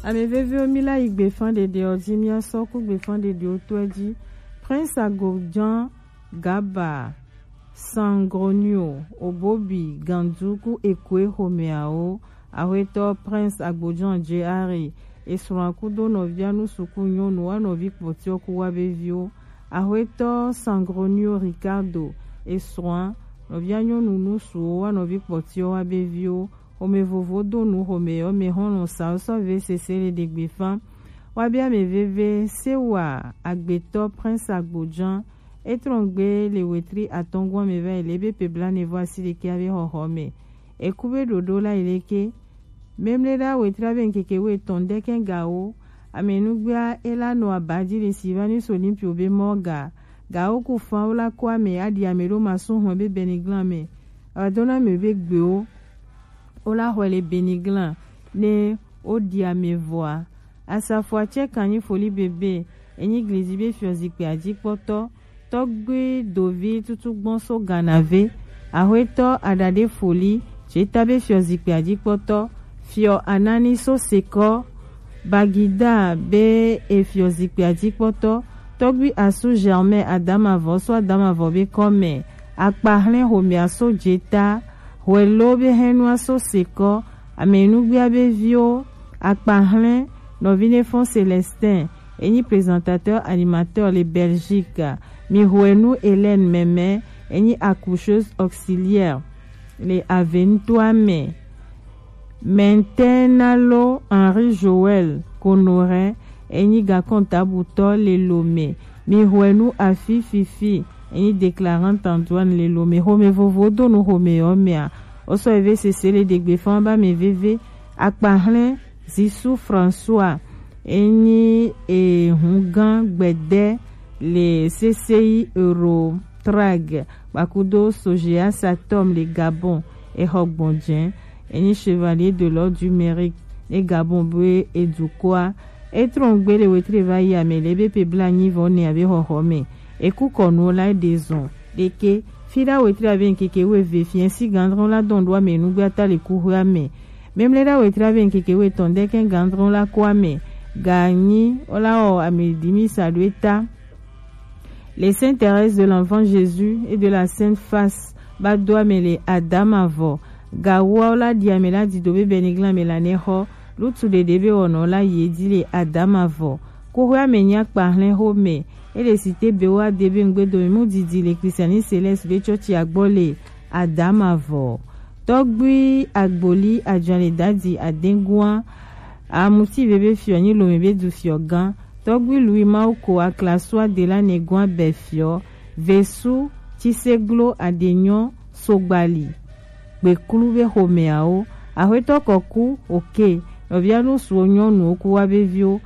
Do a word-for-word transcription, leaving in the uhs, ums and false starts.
Ame veviwo, mi la yi gbefan ɖeɖe ɔ ji, mi asɔ ku gbefan ɖeɖewo to ɛ ji. Prince Agojan Gaba, Sangronio, Obobi, Gandu ku Ekwe xomɛawo. Axwetɔ Prince Agbojan J R, esrɔ̃a kudo nɔvia nusu ku nyɔnu wa nɔvi kpɔtiɔ ku wa be viwo. Axwetɔ Sangronio Ricardo, esrɔ̃a, nɔvia nyɔnu nusuwo wa nɔvi kpɔtiɔ wa be viwo. Xomɛ vovo do nu xomɛ yɔ mɛ xɔlɔn sa sɔ ve sese le ɖe gbefa. Wa bia mɛ veve se wa agbetɔ Prince Agbojan. Etrɔngbe le wetri atɔngɔn mɛ va yi le be pe blanɛ vɔ asi ɖekɛ abe xɔxɔ mɛ. Eku be ɖoɖo la yi leke. Memle ɖa wetri abe nkeke wo etɔn ɖekɛ gawo. Amenugbea ela nɔ abaji le Sylvanus Olympio be mɔ ga. Gawo ku fan wo la ko ame aɖi ame ɖo masu hɔn be Beniglan mɛ. Awa dona mɛ be gbewo. Wo la xɔe le Beniglan ne wo ɖi ame vɔa. Asafoa tsɛ kan nyi foli bebe, enyi glizi be fiɔ zikpui ajikpɔtɔ, tɔgbi dovi tutu gbɔn so Ganave, axwetɔ aɖaɖe foli, tseta be fiɔ zikpui ajikpɔtɔ, fiɔ anani so sekɔ, Bagida be efiɔ zikpui ajikpɔtɔ, tɔgbi asu Germain Adamavɔ so Adamavɔ be kɔmɛ, akpahlɛn xomɛa so jeta, hwɛlo be hɛnua so sekɔ, amenugbia be viwo, akpahlɛn nɔvi ne fɔn Célestin, enyi présentateur animateur le Belgique, mi hwenu Hélène Mɛmɛ, enyi accoucheuse auxiliaire le Aventoa mɛ. Mɛntɛnalo Henri Joël Konorɛ, enyi gakɔntabutɔ le Lomé. Mi hwenu afi fifi, enyi déclarant en douane le Lomé. Xomɛ vovo do nu xomɛ yɔ mɛa. Osɔ eve sese le ɖegbe fan ba mɛ veve. Akpahlɛn Zisu François, enyi ehungan gbɛdɛ le C C I Euro Trag, kpakudo Sogea Satom le Gabon, exɔ gbɔnjɛ, enyi Chevalier de l'Ordre du Mérite, ne Gabon be edukɔa, etrɔngbe le wetri va yi ame le be pe bla nyi vɔ ne abe xɔxɔ me. Eku kɔnu la de zɔn, ɖeke, fi ɖa wetri ave nkeke wo eve fiɛ si gandrɔn la dɔn ɖo ame nugbe ata le kuxɔ ame. Memle ɖa wetri ave nkeke wo etɔn ɖeke gandrɔn la ko ame. Ganyi, ola o ame dimi sa ɖo eta. Les Saintes Thérèse de l'Enfant Jésus et de la Sainte Face ba do ame le Adama vɔ. Gawoawo la ɖi ame la dido be Beniglan me la ne xɔ. Lutu ɖeɖe be wɔnɔ la yi edzi le Adama vɔ. Kuxɔe ame nya kpa hlɛn xo me. Ele site be wa de be ŋgbe dome mu didi le Christianisme Céleste be tsɔtsi agbɔ le Adama vɔ. Tɔgbui Agboli Adjɔn le dadi adengua. Amuti be be fiɔ nyi lome be du fiɔ gan. Tɔgbui Louis Mawuko Aklasua de la ne gua bɛ fiɔ. Vesu Tiseglo Adenyɔ Sogbali. Gbeklu be xomɛawo. Axwetɔ Kɔku oke. Nɔvia nu suwo nyɔnuwo ku wa be viwo.